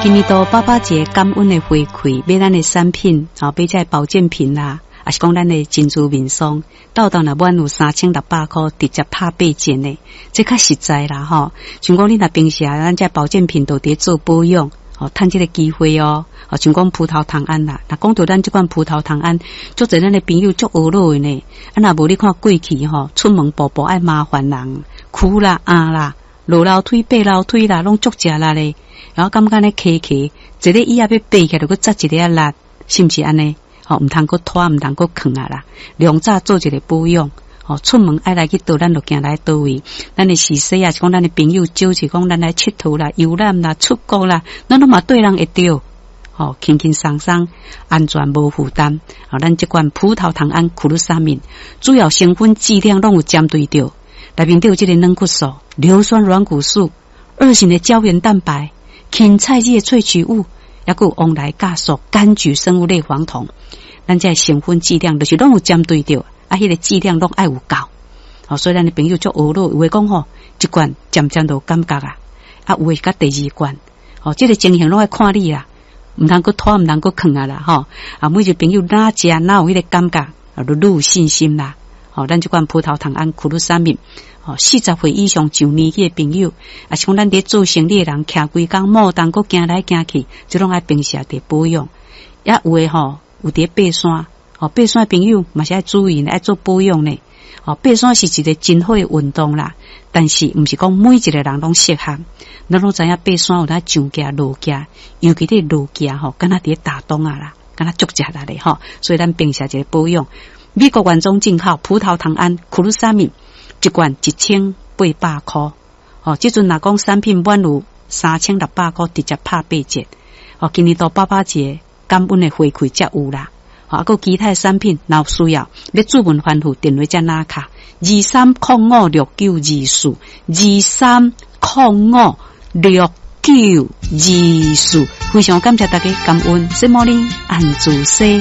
今年度爸爸節感恩的回饋，買咱的產品，吼，買這个保健品啦，抑是講咱的珍珠面霜，鬥鬥若滿有3600箍，直接拍8折呢，這較實在啦吼。像講你若平時啊，咱這保健品都佇做保養，吼，趁這个機會哦。哦，像講葡萄糖胺啦，若講著咱這款葡萄糖胺，足濟咱的朋友足懊惱的呢。啊，若無你看過去吼，出門步步愛麻煩人，跍啦、壓啦、落樓梯、爬樓梯啦，攏足食力咧。然後感覺呢磕磕，一個椅仔欲爬起來，就閣紮一个仔力，是毋是按呢？吼，毋通閣拖，毋通閣囥啊啦。量早做一个保養，吼，出門愛來去佗，咱就行來佗位。咱的時勢啊，是講咱的朋友招是講咱來𨑨迌啦、遊覽啦、出國啦，咱攏嘛綴人會著。吼，輕輕鬆鬆，安全無負擔。吼，咱這款葡萄糖胺苦魯沙敏，主要成分劑量攏有針對著，內面底有這个軟骨素、硫酸軟骨素、二型的膠原蛋白、芹菜葉萃取物，抑閣有黃來酵素、柑橘生物類黃酮。咱這成分劑量就是攏有針對著，啊，彼个劑量攏愛有夠。吼，所以咱的朋友足懊惱，有的講吼，一罐漸漸就有感覺啊，啊，有的是佮第二罐，吼，這个情形攏愛看你啦。毋通閣拖，毋通閣囥啊啦，吼！啊，每一個朋友若食若有彼个感覺，啊，就愈有信心啦。吼，咱這款葡萄糖胺苦魯沙敏，吼，40歲以上上年紀的朋友，抑是講咱佇做生理的人，徛規工摩動閣行來行去，這攏愛平時佇保養。也有的吼，有佇爬山，吼，爬山的朋友嘛是愛注意，愛做保養呢。吼，爬山是一個真好的運動啦，但是毋是講每一個人攏適合。咱攏知影爬山有當上行落行，尤其佇落行吼，敢若佇咧打樁仔啦，敢若足食力的吼。所以咱平時一個保養，美國原裝進口葡萄糖胺苦魯沙敏一罐1800箍。吼，這陣若講產品滿有3600箍，直接拍8折。吼，今年度爸爸節感恩的回饋才有啦。啊，閣其他產品若有需要，欲主問翻覆電話才拿卡2305692423056924，非常感謝大家感恩，什麼呢？安住西。